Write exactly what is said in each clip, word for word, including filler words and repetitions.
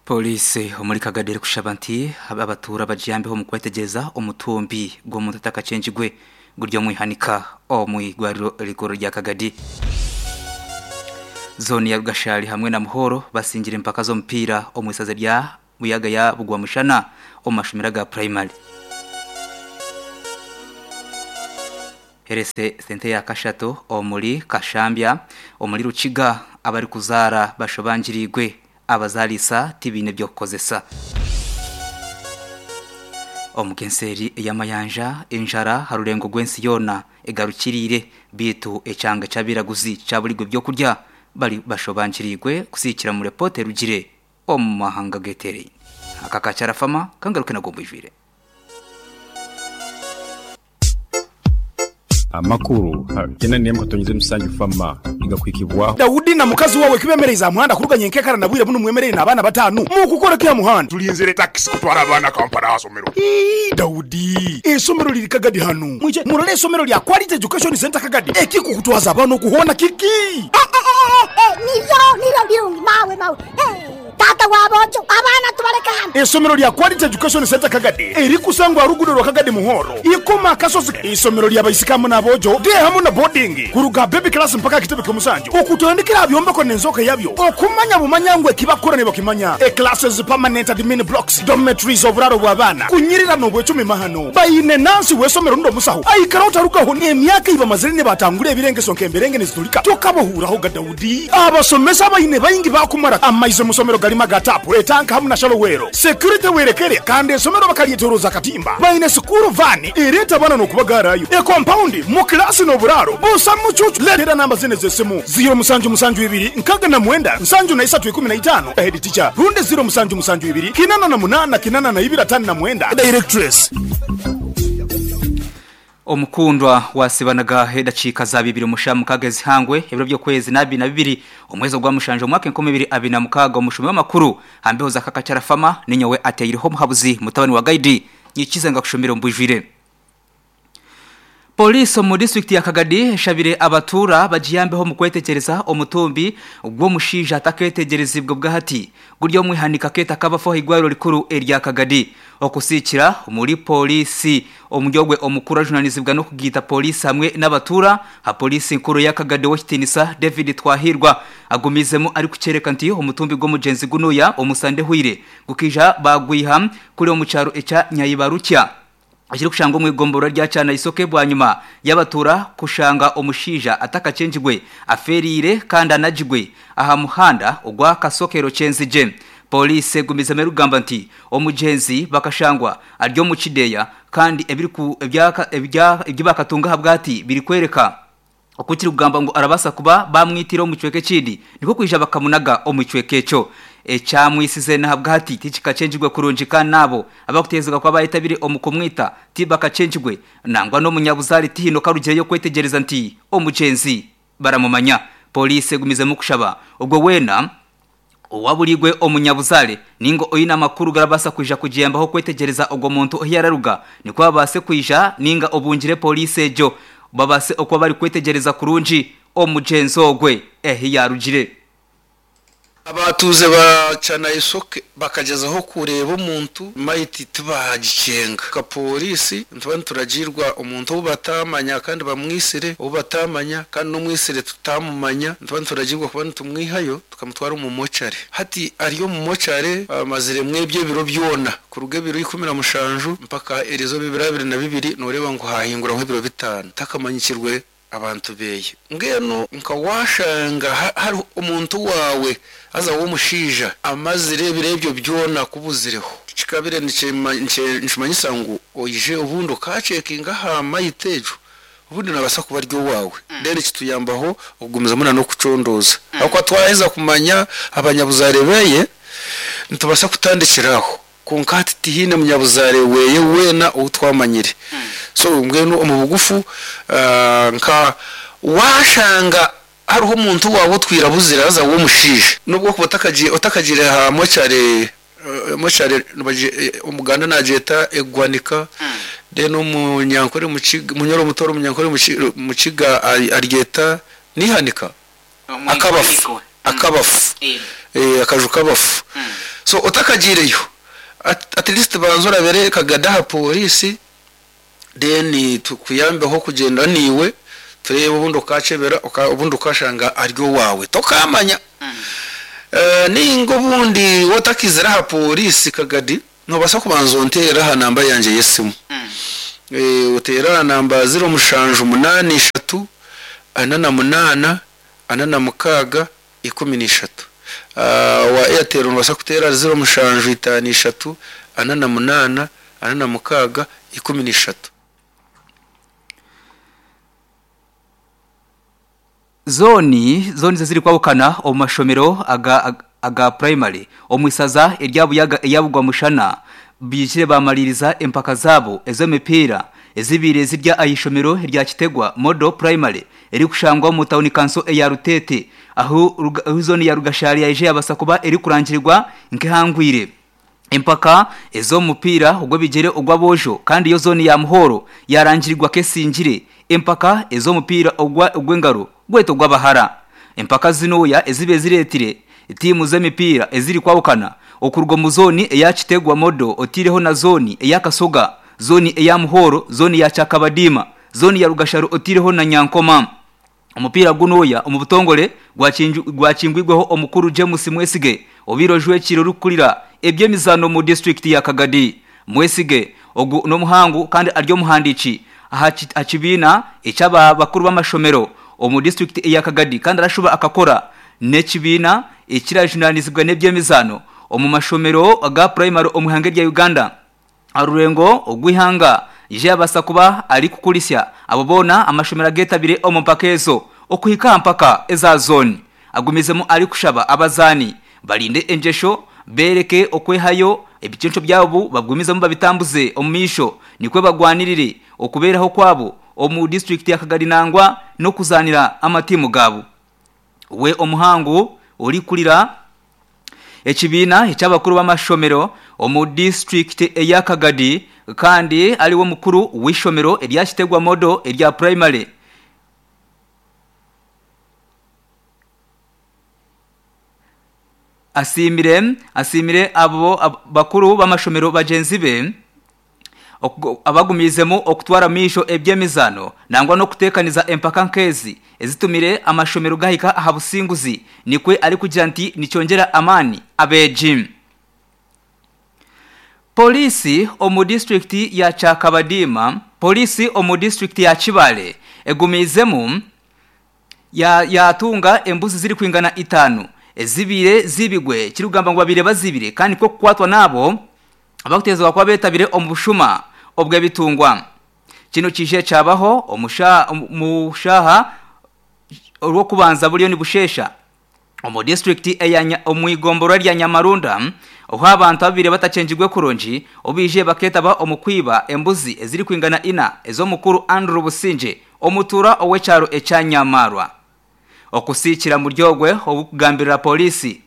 Polisi omuri Kagadi erikushaba nti abatuura bagiyambeho omu kwetegereza omutumbi gw'omuntu atakachenjigwe guri omwihanika omu igwariro rikuru rya Kagadi. Zone ya Rugashari hamwe na Muhoro basingira empaka z'omupiira omu isaza rya Buyaga ya Bugwamushana omu mashomero ga primary. Herese sente ya kashato omuri Kashambya omuri Rukiga abari kuzaara bashobangirirwe abazalisa tibine byo kukozesa. Omukenseri y'amayanja enjara harurengo gwensi yona egarukirire bitu echanga cyabiraguzi cyabuligwe byo kurya bari bashobangirirwe kusikira mu reporter rugire omu mahanga getere. Akakacara fama kangaruke nagombwijwire. Amakuru tena niye mkatonyize musanju fama igakwikibwa Daudi na mukazi wawe kibemereza muhanda kuruganye nkekara na bwire buno mwemerere nabana batanu mu kukora kya muhanda tulinzire taxi kutwara abana Kampala asomero. Ii Daudi esomero liri Kagadi hanu mwije murole esomero lya Quality Education Center Kagadi ekikukutwaza abana okuhona kiki niyo niyo birungi mawe mawe tata wabojo abana tubareka hano. Esomero lya Quality Education Center Kagadi eri kusangwa rugudo rwa Kagadi Muhoro ikoma kasozi. Isomero lya baisikamu nabojo de hamu na boarding kuruga baby class mpaka kitebe kyomusanjo okutandikira byombeko nenzoka yabyo okumanya bumanyangwe kibakora ne bakimanya e classes permanent admin blocks dormitories oburaro bw'abana kunyirira no bwecumi mahano bayine nansi wesomero ndo musaho aikara utarukaho ni emyaka iba mazire batangure ebirenge sonke emberenge nizitulika tokabohuraho ga Daudi abasomesa bayine bayingi bakumara amaizo musomero galima gatapu etanka hamuna shalowero security werekere kandi esomero bakalietoroza katimba bayine sukuru vani ireta bana no kubagarayo e compound mu class no buraro busa mucucu letera namba zine zesimu zero musanju musanju ibiri nkaga na mwenda nsanju na isatu ikumi na itano head teacher runde zero musanju musanju ibiri kinana na munana kinana na ibira tano na mwenda directress. Omukundwa wasibanaga hedacika za bibiri mushamu kagezi hangwe ebiro byo kwezi nabi na bibiri omwezo gwa mushanje omwaka enkumi ibiri abiri na mukaga omushumi w'amakuru hambeho za kakacara fama ninyowe ateyiriho muhabuzi mutabani wa guide nyikize ngakushomera mbujwire. Polisi mu district ya Kagadi shabire abatura bagiyambeho mu kwetegereza omutumbi gwo mushija ataketegerezibwe bwahati guryo mwihanika keta kabafo higwaro rikuru erya Kagadi okusikira muri polisi omujogwe omukuru ajunanizibwa no kugita polisi hamwe n'abatura ha polisi nkuru ya Kagadi wokitinisa David Twahirwa agumizemo ari kucereka nti omutumbi gwo mugenzi gunuya omusande huire gukija bagwiha kuri omucaro eca Nyayibarukya Ashiri kushanga omwigombora rya cyana isoke bwanyuma yabatura kushanga omushija atakacenjigwe aferire kandi anajigwe aha muhanda ogwa kasokero cenzije. Polisi gumiza merugamba nti omugenzi bakashangwa aryo mu kideya kandi ebiri ku ebyaka ebya ibyibakatunga habwati biri kwereka okukiri kugamba ngo arabasa kuba bamwitira omucweke kindi niko kwija bakamunaga omucweke cyo ecyamwisize na habwati tikikacenjigwe kurunjika nabo abakutezega kwa bayitabire omukumwita tibakacenjigwe nangwa no munyabuzari tihino karugiye kwetegereza nti omugenzi baramumanya. Polisi gumize mu kushaba ubwo wena owabuligwe omunyabuzale ningo oyina makuru garabasa kuja kujembaho kwetegereza ogwo muntu ohiyararuga niko babase kuija ninga obungire polisi ejo babase okwa bari kwetegereza kurunji omugenzi ogwe ehi yarugire. Abatuze bacana isoke bakagezaho kureba omuntu maiti tubagicenga ka polisi ntuba turagirwa omuntu batamanya kandi bamwisire ubatamanya kandi n'umwisire tutamumanya ntuba turagirwa kuba tumwihayo tukamutwara mu mochare hati ariyo mu mochare amazire mwebye biro byona kuruge biro ikumi na mushanju mpaka erizo bibiri abiri na bibiri noreba ngo hahingura nk'ibiro bitanu takamanyikirwe abantu beye ngeno nkawashanga hari omuntu wawe aza wo mushija amazire birebyo byona kubuzireho kikabire nshimanyisa ngo oije ubundo kacekinga ha mayitejo ubundi nabasa kuba ryo wawe then kituyambaho okugumiza muna no kucondoza aho twaheza kumanya abanyabuzarebeye ntubasa kutandikiraho konkati tihine munyabuzare weye wena utwamanyire so ngweno omu bugufu nka washanga hariho umuntu wawe twirabuzira aza wo mushije nubwo kubatakagiye otakagire ha mochare mochare umuganda najeta egwanika then umunyankore mukiga munyoro mutoro umunyankore mukiga aryeta nihanika akabafu akabafu eh akaju kabafu. So otakagireyo at, at least banza orabere Kagadi aha polisi, then tukuyambeho kugenda niwe turebe obundi okachebera obundi ukashanga aryo wawe tokamanya. mm. Uh, ninga obundi wotakizira aha polisi Kagadi nobasa kubanza ontera aha namba yanje yesimu. mm. E, utera namba zero mushanju munani ishatu ana na munana ana na mukaga ikumi n'ishatu. Uh, wa Airtel nobasa kutera zero mushanju itanu ishatu ana na munana ana na mukaga ikumi n'ishatu. Zoni zoni ziri kwabukana omu mashomero aga, aga, aga primary omwisaza eryabuyaga eyabugwa mushana bijire bamaliriza empaka zabo ez'emipiira ezibire zirya ayishomero rya Kitegwa Model Primary eri kushangwa mu town council eya Rutete aho zone ya Rugashari yaje yabasa kuba eri kurangirirwa nkehangwire empaka ezo mupira ogwo bigere ogwa bojo, kandi yo zone ya Muhoro yarangirirwa kesingire empaka ezo mupira ogwa ogwengaro gweto gwabahara. Empaka zinoya ezibe ziretire timu z'emipira eziri kwabukana okurwa mu zone eya Kitegwa Model otireho na zone eya Kasoga, zone eya Muhoro, zone ya Chakabadima, zone ya Rugasharo otireho na Nyankoma. Omupira gunoya omubutongole gwachingwigweho omukuru James Mwesige obiro jwekiro rukulira ebyemizano mu district ya Kagadi. Mwesige ogu no muhangu kandi aryo muhandici aha ekyaba bakuru b'amashomero omu district ya Kagadi, kandi arashuba akakora n'ekibiina ekirajunanizibwa n'ebyemizano omu mashomero aga primary omuhange rya Uganda. Arurengo ogwihanga ije abasa kuba ari kukulisya abo bona amashomero agetabire omu mpaka ezo okuhika mpaka eza zone. Agumizemu ari kushaba abazani balinde enjesho bereke okwehayo ebicenco byabo bagumizemu babitambuze omumisho nikwe bagwanirire okuberaho kwabo omu district ya Kagadi nangwa no kuzanira amatimu gabo. We omuhangu ori kulira ekibiina ekyabakuru b'amashomero omu district eya Kagadi kandi aliwo mukuru w'ishomero erya Kitegwa Model erya primary asimire asimire abo ab, bakuru b'amashomero bagenzi be abagumizemo okutwara misho ebyemizano nangwa no kutekaniza empaka nkezi ezitumire amashomero gahika aha businguzi nikwe ari kugira nti nicyongera amani abeji. Polisi omu district ya Chakabadima, polisi omu district ya Chibale egumizemu ya yatunga embuzi ziri kwingana itanu ezibire zibigwe kirugamba ngo babire bazibire kandi ko kukwatwa nabo abakutezwa kwa betabire omubushuma obwe bitungwa. Kino kije cyabaho omusha mushaha orwo kubanza buriyo ni bushesha omu district eya omwigomboro rya Nyamarunda oho abantu babire batachenjigwe kuronji obije baketaba omukwiba embuzi eziri kwingana ina ezo mukuru Andrew Businje omutura owecharo ecyanyamarwa. Okusikira muryogwe obukugambirira polisi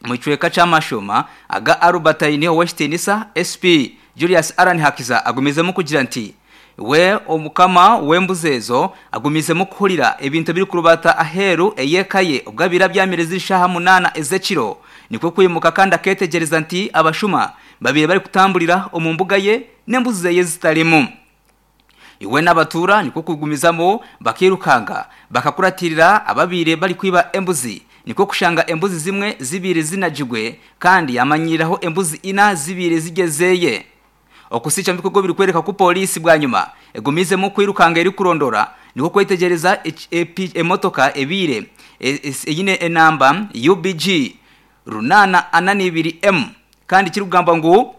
muchweka chamashoma aga Arubatayini Westinisa S P Julius Aran Hakiza agumizemu kugira nti we omukama wembuzezo agumizemu kuhulira ebintu biri kurubata aheru eyekaye ubwabira byamirezi ishaha munana ezekiro nikwe kwimuka kandi aketegereza nti abashuma babiri bari kutambulira omumbuga ye nembuze ye zitarimu. Iwe n'abatura niko kugumizamo bakirukanga bakakuratirira ababire bari kwiba embuzi niko kushanga embuzi zimwe zibire zinajigwe kandi yamanyiraho embuzi ina zibire zigezeye. Okusicha mbikugo biri kwereka ku polisi bwa nyuma egumizemo kwirukanga eri kurondora niko kwetegereza emotoka ebire eyine enamba U B G runana anani ibiri M kandi kirugamba ngo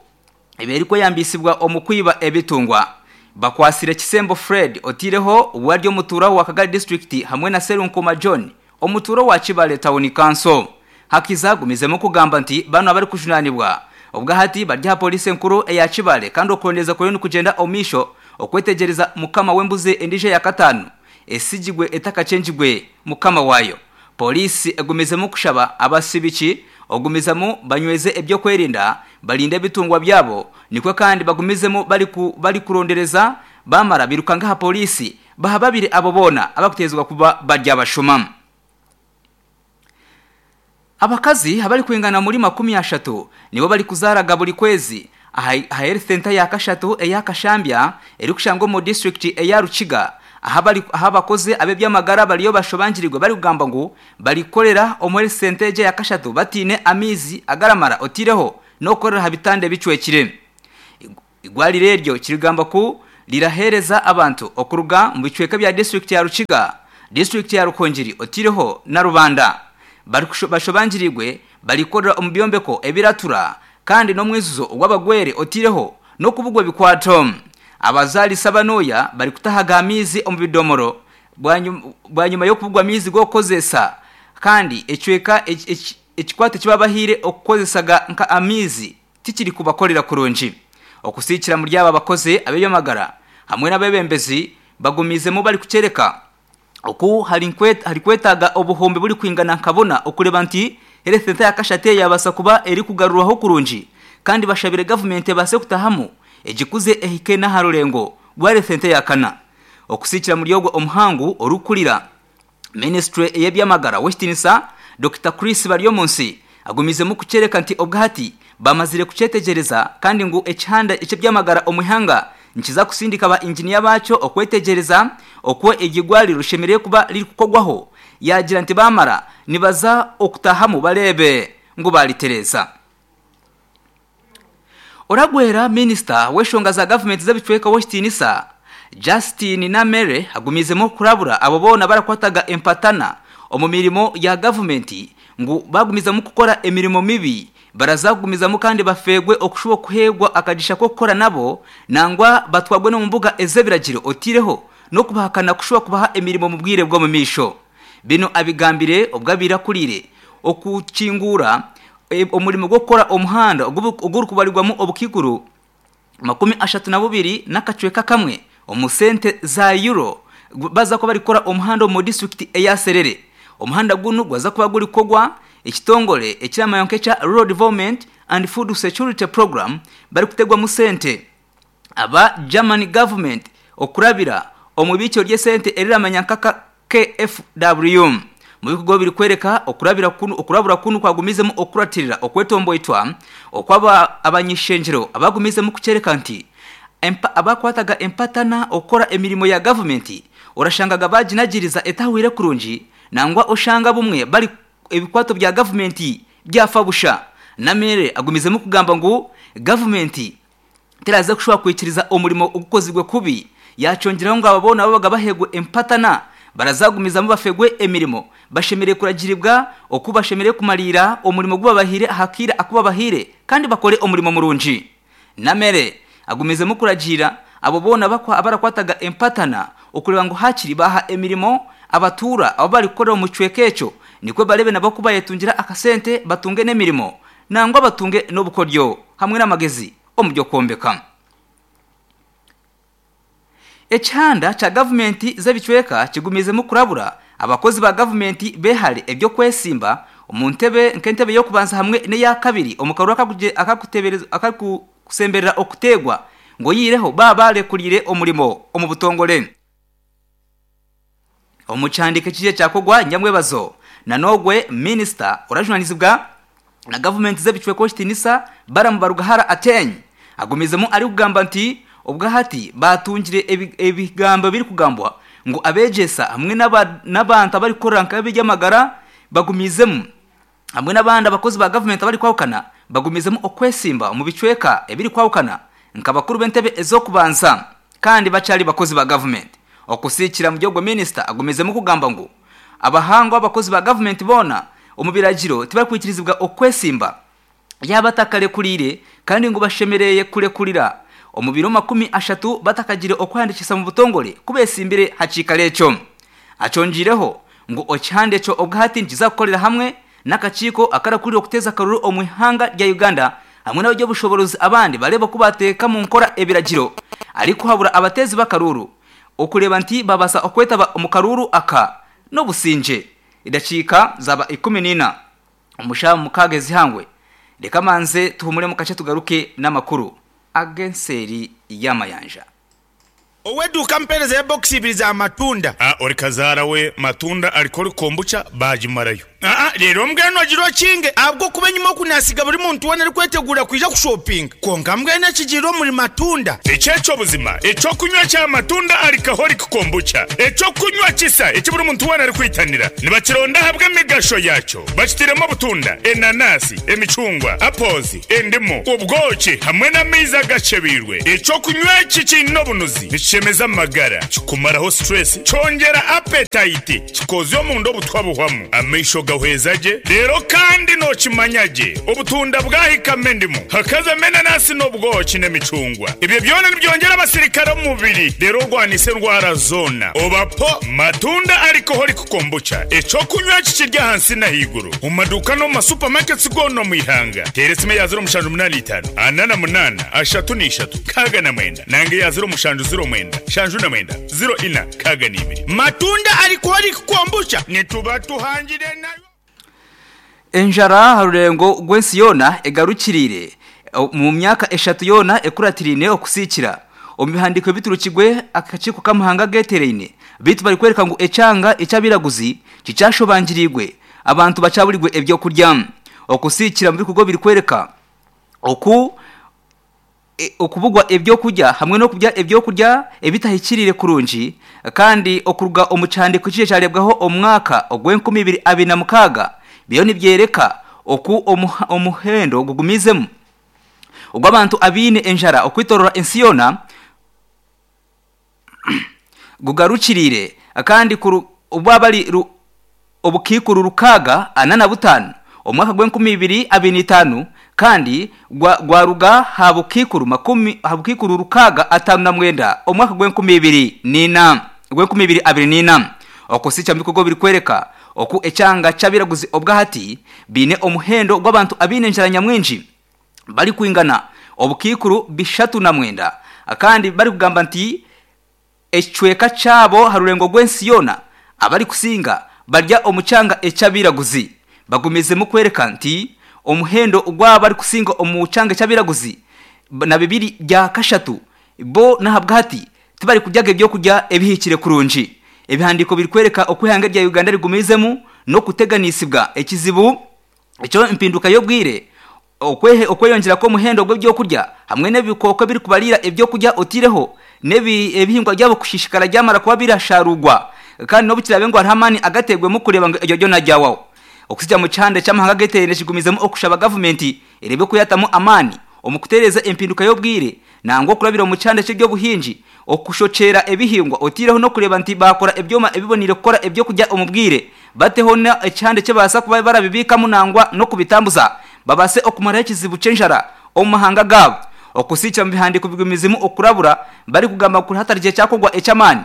eberi ko yambisibwa omukwiba ebitungwa. Bakwasire Kisembo Fred otireho waryo mutura wa Kagari district hamwe na Serunkoma John omuturo wa Kibale Town Council. Hakiza gumizemo kugamba nti bano abari kujunanibwa ubwa hati barya polisi nkuru eya Kibale kandi okurondeza kuri kugenda omisho okwetegereza mukama wembuze endije ya katanu esijigwe etakachenjigwe mukama wayo. Polisi egumizemo kushaba abasibiki ogumizamo banyweze ebyo kwerinda balinde bitungwa byabo nikwe kandi bagumizemo bali ku bali kurondereza bamara birukanga ha polisi bahababire abo bona abakutezwa kuba barya bashuma. Abakazi abari kwingana muri makumi ashatu nibo bari kuzaraga buri kwezi aha health center ya Kashatu eya Kashambya eri kushangwa mu district eya Rukiga aha bari aha bakoze abebyamagara bariyo bashobangirirwe bari kugamba ngo barikorera omu health center ya Kashatu batine amizi agaramara otireho no korera habitande bicwekire. Igwalire ryo kirigamba ku lirahereza abantu okuruga mu bicweka bya district ya Rukiga, district ya Rukonjiri otireho na Rubanda. Bashobangirirwe balikorera omu byombeko ebiratura kandi no mwizuzo ogwabagwere otireho no kubugwa bikwato. Abazali sabanoya bali kutahaga amizi omu bidomoro bwanyuma yo kubugwa amizi gokozesa kandi ecweka ekikwato kibabahire okukozesaga nka amizi tikiri kubakorera kurungi. Okusikira muri aba bakoze abebyamagara hamwe n'abebembezi bagumizemo bali kucereka oku hari kwetaga obuhombe buri kwingana nkabona okureba nti health center ya Kashate yabasa kuba eri kugarurwaho kurungi kandi bashabire government base kutahamu ejikuze ehike na harurengo gwa health center ya kana. Okusikira muri ogwo omuhangu orukurira ministry yebyamagara Westinsa Doctor Chris Baryomunsi agumizemo kucereka nti obwati bamazire kucetegereza kandi ngu ekihanda eky'ebyamagara omuhanga nkiza kusindika ba engineer bacho okwetegereza okwo egigwali rushemereye kuba liri kukogwaho. Yagira nti bamara nibaza okutahamu balebe ngo balitereza. Oragwera minister weshonga za government z'abicweka Westinsa Justin Namere agumizemo kurabura abo bona barakwataga empatana omu mirimo ya government ngu bagumizamu kukora emirimo mibi barazagumizamu kandi bafegwe okushubo kuhegwa akagisha ko gukora nabo nangwa batwagwe no mu mbuga ezebiragiro otireho no kubahakana kushuba kubaha emirimo mu bwire bwo mu misho. Bino abigambire obwabira kurire okukingura e, omurimo gwo gukora omuhanda oguri kubarirwamo obukiguru makumi ashatu na bubiri n'akacweka kamwe omusente za euro baza ko bari gukora omuhanda mu district eya Serere. Omuhanda gunu gwaza kuba guri kogwa ekitongole ekiramayonke cha Road Development and Food Security Program bari kutegwa mu sente aba German government okurabira omubikyo rye sente eriramanya nkaka K F W mu bikorwa biri kwereka okurabira kunu okurabura kunu kwagumizemo okuratirira okwetomboitwa okwaba abanyishenjero abagumizemo kucereka nti abakwataga empatana okora emirimo ya government orashangaga bajinagiriza etahwire kurungi nangwa oshanga bumwe bari ebikwato bya government byafabusha. Namere agumizemo kugamba ngo government teraza kushobora kwikiriza omurimo ugukozigwe kubi yacongeraho ngo ababona babaga bahegwe empatana barazagumizamo bafegwe emirimo bashemere kuragiribwa okubashemere kumalira omurimo gubabahire hakira akubabahire kandi bakore omurimo murungi. Namere agumizemo kuragira abo bona bakwa abarakwataga empatana okureba ngo hakiri baha emirimo abatura abo bari gukora mu cwekecho nikwe barebe nabo kuba yetungira akasente batunge n'emirimo nangwa batunge n'obukoryo hamwe n'amagezi omubyo kwombeka. Echanda cha government z'ebicweka kigumizemo kurabura abakozi ba government behale ebyo kwesimba omuntebe nkentebe yo kubanza hamwe ne ya kabiri omukarura akakutebereza akakusemberera okutegwa ngo yireho baba kurire omurimo omubutongole. Omuchandike kije cyakogwa nyamwebazo nanogwe minister orajunanizibwa na government z'ebicweko Shitinisa baramubarugahara atenye agumizemo ari kugamba nti ubwahati batungire ebigambo biri kugambwa ngo abegesa hamwe n'abantu abari korora nk'abiryamagara bagumizemo hamwe n'abandi abakozi ba government abari kwahukana bagumizemo okwesimba mu bicweka ebiri kwahukana nk'abakuru b'entebe ezo kubanza kandi bacari bakozi ba government. Okusikira mu gihugu minister agumizemo kugamba ngo abahangwa abakozi ba government bona omubiragiro tibakwikirizibwa okwesimba yabatakale kurire kandi ngo bashemereye kurekurira omubiro makumi ashatu batakagire okwandikisa mu butongole kubesimbire hakikalecho. Acongireho ngo okyande cyo obwahati nkiza kukorera hamwe n'akakiko akarakurira okuteza karuru omwihanga rya Uganda hamwe n'abajya bushoborozi abandi bareba kubateka mu nkora ebiragiro ariko habura abatezi bakaruru okureba nti babasa okwetaba omukaruru aka no businje idacika zaba ikumi nina umushamu mukagezi hangwe. Reka manze tuhumure mu kace tugaruke n'amakuru agenseri y'amayanja. Oweduka mpereza ya box ibiri za matunda. Ah, ori kazara we matunda alikori kombucha bajimarayo. Ah, rero mbweno agiro kinge abwo kuba nyuma kunasiga buri muntu wena ari kwetegura kwija kushopping. Konka mbwene kigiro muri matunda. Echecho buzima, echo kunywa cha matunda alcoholic kombucha. Echo kunywa kisa ekiburi muntu wena ari kwitanira. Nibakironda habwe migasho yacho. Bakitiremo butunda, enanasi, emicungwa, apples, endimu, ubwoki hamwe n'amaizi agacebirwe. Echo kunywa iki kino bunuzi nikishemeza amagara, kikumaraho stress, cyongera appetite, kikozyo mu ndo butwabuhwamu. Amaisho gahwezaje rero kandi nokimanyage obutunda bwahikame ndimu hakaza menanasi n'obwoki n'emicungwa. Ibyo byona nibyongera abasirikare mu mubiri rero rwanise ndwara zona. Obapo matunda alcoholic kombucha echo kunywa kikirya hansi na higuru mu maduka no mu supermarkets gono mu ihanga. Teresime ya zero mushanju munani itanu anana munana ashatu n'ishatu kaga na mwenda nange ya zero mushanju zero mwenda shanju na mwenda zero ina kaga n'ibiri. Matunda alcoholic kombucha nituba tuhangire nayo. Enjara harurengo gwensi yona egarukirire mu myaka eshatu yona ekuratirine okusikira omubihandiko biturukigwe akachiko kamuhanga getereine bitu bari kwereka ngo echanga echabiraguzi kicashobangirirwe abantu bacaburirwe ebyo kurya okusikira mu bikugo biri kwereka oku e, okubugwa ebyo kurya hamwe no kurya ebyo kurya ebitahikirire kurungi kandi okuruga omuchandiko kije cyarebwaho omwaka ogw'enkumi ibiri abiri na mukaga biyo nibyereka oku omuhendo gugumizemu ubwo abantu abine enjara okwitorora ensiyona gugarukirire kandi ubwo bari obukikuru rukaga anana butanu omwaka gw'enkumi ibiri abiri n'itanu kandi gwaruga habukikuru makumi habukikuru rukaga atanu na mwenda omwaka gw'enkumi ibiri n'ina gw'enkumi ibiri abiri n'ina okusicha mbikugo biri kwereka oku echanga chabiraguzi obwahati bine omuhendo gw'abantu abine enjara nyamwinji bari kwingana obukikuru bishatu na mwenda akandi bari kugamba nti echweka chabo harurengo gw'ensiyona abari kusinga barya omuchanga echabiraguzi bagumize mu kwereka nti omuhendo gw'abari kusinga omuchanga echabiraguzi na bibiri bya kashatu bo nahabwati tibari kuryaga ebyo kurya ebihikire kurungi. Ebihandiko biri kwereka okwihanga rya Uganda rigumizemu no kuteganisibwa ekizibu echo impinduka yobwire okwehe okweyongera ko muhendo gw'ebyo kurya hamwe n'ebikoko biri kubarira ebyo kurya otireho nebi ebihingwa byabo kushishikara ryamara kuba birasharugwa kandi no bukirabe ngo hamani agategwe mu kureba ngo iryo najyawaho okusijya mu cyande cy'amahanga getere kigumizemo okushaba government irebe kuyatamo amani omukutereza impinduka yobwire nango kurabira mu cyande cy'ibyo buhinji okushochera ebihingwa otireho no kureba nti bakora ebyoma ebibonire gukora ebyo kujya omubwire bateho na ecyande cyabasa kuba barabibika munangwa no kubitambuza babase okumara ekizibu cenjara omahanga gabo okusicha mu bihandiko bigumizimu okurabura bari kugamba kuri hatarije cyakogwa ecamani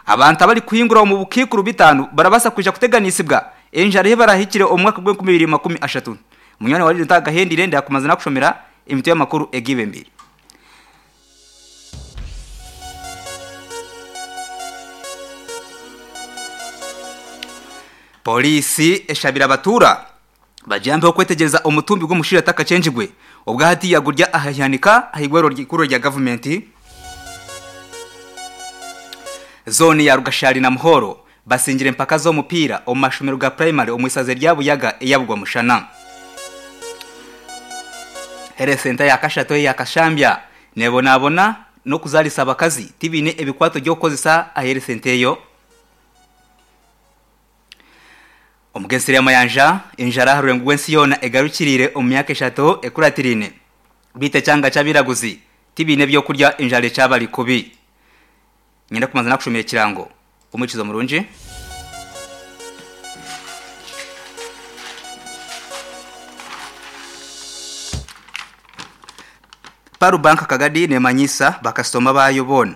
abantu abari kuhingura mu bukikuru bitanu barabasa kuja kuteganisibwa enjara he barahikire omwaka gw'enkumi ibiri makumi ashatu. Munyana wali ntagahendire ndakumaza nakushomera imito y'amakuru egibe mbiri. Polisi eshabira abatura bajambe okwetegereza omutumbi gw'omushira takachenjigwe obwahati yagurya ahayanika ahigwero ryikuru rya government zone ya Rugashari na Muhoro basingire mpaka zo mupira omashomero ga primary omwisaze rya Buyaga eyabugwa mushana. Here senta ya kashato ya kashambya nebonabona no kuzalisa abakazi tibine ebikwato byokozesa ahere sente yo. Omugesire mayanja injara harurengo gwensi yona egarukirire omyaka eshatu ekuratirine bite cyanga cyabiraguzi tibine byo kurya injare cyabari kubi. Nyenda kumanza nakushomera kirango umukizo murungi. Paru banka Kagadi nemanyisa bakasoma bayo bona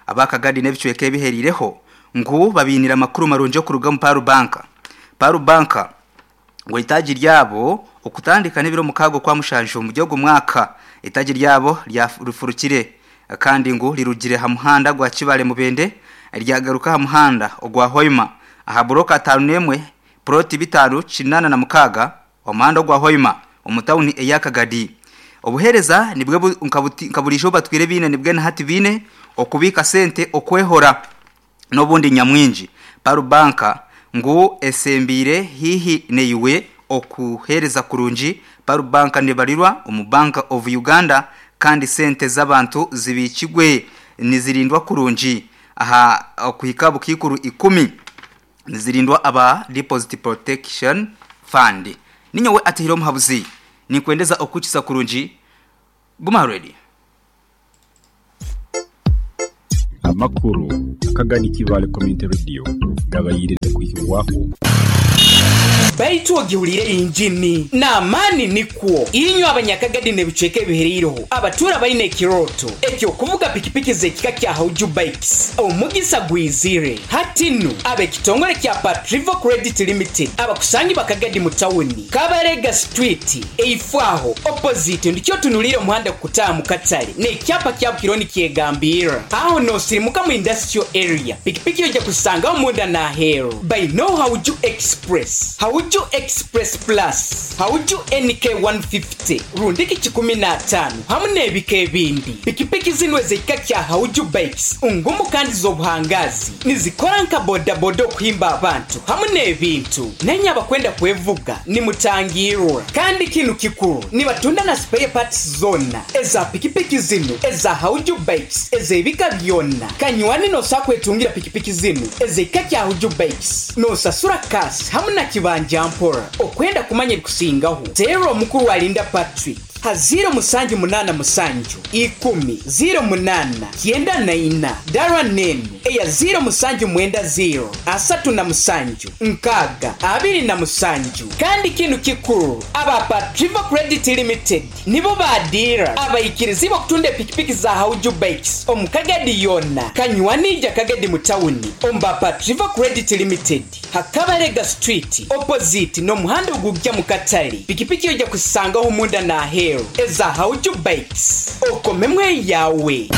abakagadi nebicweke biherireho ngu babinira makuru marunje kuruga mu Paru banka. Paru banka ngo itaji ryabo okutandika n'ibiro mukago kwa mushanjo mu gihugu mwaka itaji ryabo ryarufurukire kandi ngo rirugire ha muhanda gwa Kibale mubende ryagaruka ha muhanda ogwa Hoima aha buroka atanu nemwe proti bitanu cinana na mukaga omuhanda gwa Hoima omutawuni eyakagadi. Obuhereza nibwe nkabulijo batwire bine nibwe na hati bine okubika sente okwehora n'obundi nyamwingi. Paru Banka ngu esembire hihi neiwe okuhereza kurungi. Paru Banka nebarirwa omu Bank of Uganda kandi sente z'abantu zibikigwe nizirindwa kurungi aha okuhika bukikuru ikumi nizirindwa aba Deposit Protection Fund. Ninyowe atihiro muhabuzi ninkwendeza okuchisa kurungi. Guma ready. Amakuru akagani Kibale Community Radio gabayirire kuhirwaho. Baitu ogiwulire injini n'amaani nikwo inywe abanyakagadi n'ebicweka ebihereireho abatura baine ekiroto ekyokuvuga pikipiki z'ekika kya Hauju Bikes omugisa gwizire hatinu ab'ekitongole kya Patrivo Credit Limited abakusangi bakagadi mu tawuni Kabarega Street eifwaho opposite ndikyo tunulire omuhanda kukutaaha mu katale n'ekyapa kya Bukironi kyegambira aho nosirimuka mu industrial area pikipiki ojja kusangaho munda n'aheeru by no Hauju Express, Hauju Express Plus, Hauju N K one fifty, rundiki kikumi na ataano hamu n'ebika ebindi. Pikipiki zino ez'ekika kya Hauju Bikes ngumu kandi z'obuhangazi nizikora nka bodaboda okuhimba abantu hamu n'ebintu. Nenye abakwenda kwevuga nimutangirwa kandi kinu kikuru nibatunda na spare parts zona eza pikipiki zino eza Hauju Bikes ez'ebika byonna. Kanywani nosa kwetungira pikipiki zino ez'ekika kya Hauju Bikes nosasura kasi hamu na kibanja mpora. Okwenda kumanya ebikusingaho tero omukuru alinda Patrick ha ziro musanju munana musanju ikumi ziro munana kyenda na ina dara nenu eya ziro musanju mwenda ziro asatu na musanju nkaga abiri na musanju. Kandi kinu kikuru aba Patrivo Credit Limited nibo badira abayikirizi bakutunda pikipiki za Hauju Bikes omukagadi yonna kanywanija kagadi mu tawuni omba Patrivo Credit Limited Hakabarega Street opposite n'omuhanda ogujja mu katale. Pikipiki ojja kusangaho munda na aheeru eza Hauju Bikes okomemwe yawe.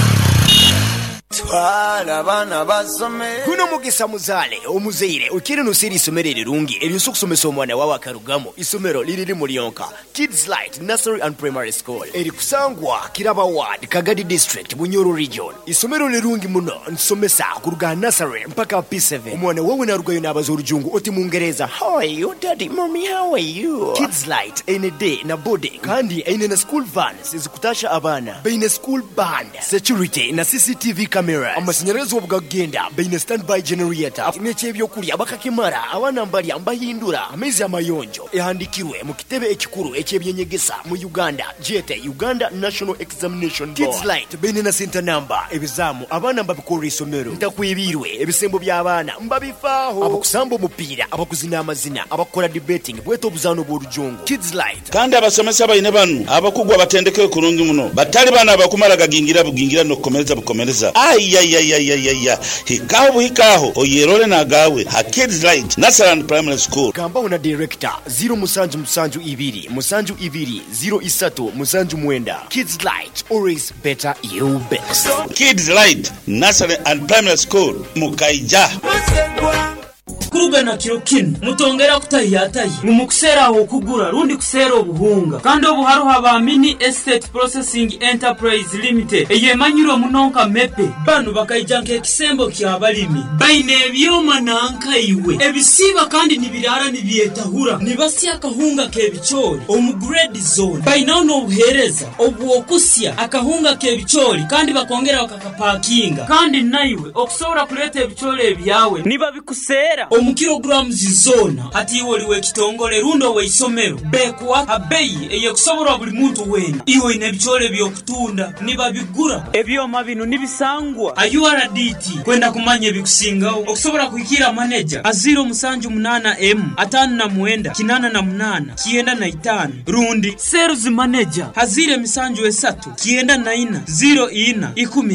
Twala abaana basome. Guno mugisa muzale omuzeire ukiri nusiri isomero erirungi eryosa okusomesa omwana wawe akarugamo. Isomero liriri mulionka Kids Light Nursery and Primary School erikusangwa Kiraba Ward, Kagadi District, Bunyoro Region. Isomero lirungi muno nsomesa kuruga nursery mpaka P seven. Omwana wawe narugayo n'abaza orujungu oti mungereza how are you daddy mommy how are you. Kids Light ene day na boarding kandi ene na school vans ezikutasha abaana baine school band security na C C T V cameras. Amashanyarazi obugagenda baine standby generator n'ekyebyokulya bakakimara abaana mbalya mbahindura amaizi amayonjo ehandikirwe mu kitebe ekikuru ekyebyenyegesa mu Uganda jete Uganda National Examination Board. Kids Light baine na center number ebizamu abaana mbabikora isomero ntakwibirwe ebisembo by'abaana mbabifaaho abakusamba omupiira abakuzina amazina abakora debating bweta obuzaano bw'orujungu. Kids Light kandi abasomesa baine banu abakugwa batendeke kurungi muno batali bana abakumara gagingira bugingira n'okukomereza bukomereza. Ayayayayaya hikaho buhikaho oyerole nagawe ha Kids Light Nursery and Primary School. Gambaho na director zero musanju musanju ibiri musanju ibiri zero isatu musanju mwenda. Kids Light always better you best. Kids Light Nursery and Primary School Mukaija. Kurugana kiro kinu mutongera kutayatayi mumukusera aho kugura rundi kusera obuhunga kandi obuharuha ba Mini Estate Processing Enterprise Limited eyemanyiro munonka mepe banu bakaija nk'ekisembo ky'abalimi baine ebyoma nanka iwe ebisiba kandi nibirara nibyetahura nibasya akahunga k'ebicoori omu grade zone bainaho n'obuhereza obwokusya akahunga k'ebicoori kandi bakongera bakakapakinga kandi naiwe okusobora kuleeta ebicoori ebyawe nibabikusera omu kilograms zona hati iwe oliwe ekitongole rundo weisomero bekuwa abeyi eyekusoborwa buli muntu wena iwe ine ebicoori ebyokutunda nibabigura ebyoma bino nibisangwa a U R D T kwenda kumanya ebikusingaho okusobora kuhikira manager a zero musanju munana M atano na mwenda kinana na munana kienda na itano rundi sales manager hazire misanju esatu kienda na ina zero ina ikumi.